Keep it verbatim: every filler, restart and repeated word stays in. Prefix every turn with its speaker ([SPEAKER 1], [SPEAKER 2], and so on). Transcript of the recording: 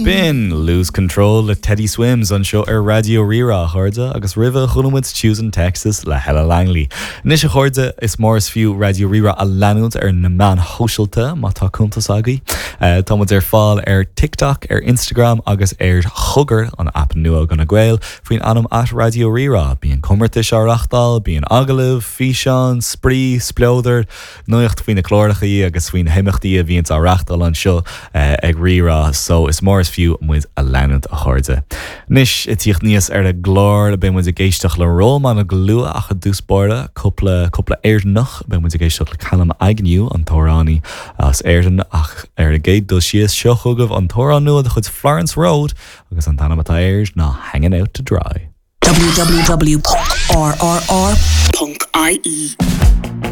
[SPEAKER 1] B'in Lose Control le Teddy Swims anseo ar Raidió Rí-Rá a chairde agus roimhe chuala muid Choosing Texas le Hella Langley. Anois a chairde is mór is fiú Raidió Rí-Rá a leanúint ar na meáin shóisialta má tá cuntas agaibh. Uh, tá muid ar fáil ar TikTok, ar Instagram agus ar Chogar an app nua do na Gaeil faoin ainm at Raidió Rí-Rá, bíonn comórtais á reáchtáil, bíonn agallaimh, físeáin, spraoi, spleodar, nuacht faoi na cláracha agus faoi na himeachtaí a bhíonn á reáchtáil anseo uh, ag Rí-Rá, so is mór is fiú muid a leanúint a chairde. Anois ag tíocht aníos ar an gclár beidh muid ag éisteacht le Róman go luath ach i dtús báire cúpla cúpla Éireannach beidh muid ag éisteacht le Callum Agnew an t-amhránaí as Éirinn ach ar an gcéad dul síos seo chugaibh an t-amhrán nua de chuid Florence Road agus an t-ainm atá air ná Hanging Out to Dry.
[SPEAKER 2] www.rrr.ie